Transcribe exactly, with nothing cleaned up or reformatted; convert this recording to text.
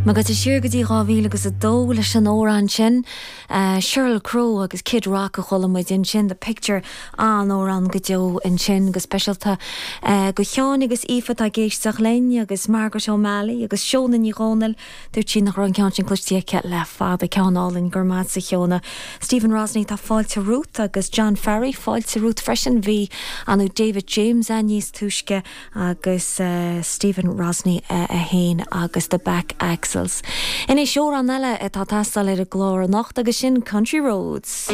Agus siar go dtí dhá mhíle agus a dó leis an amhrán sin uh, Sheryl Crow agus Kid Rock a chuala muid ansin the picture an amhrán go deo ansin go speisialta uh, go Sheáin agus Aoife ag éisteacht linn agus Margaret O'Malley agus Seona Ní Dhomhnaill dúirt sí nach raibh an ceann sin cloiste aici le fada ceann álainn gur maith sa Sheona. Stephen Rosney tá fáilte romhat agus John Farry fáilte romhat freisin bhí anu David James an níos túisce agus uh, Stephen Rosney uh, a haon agus the back axles. Anois amhrán eile atá teastáil ar an gclár anocht agus sin Country Roads.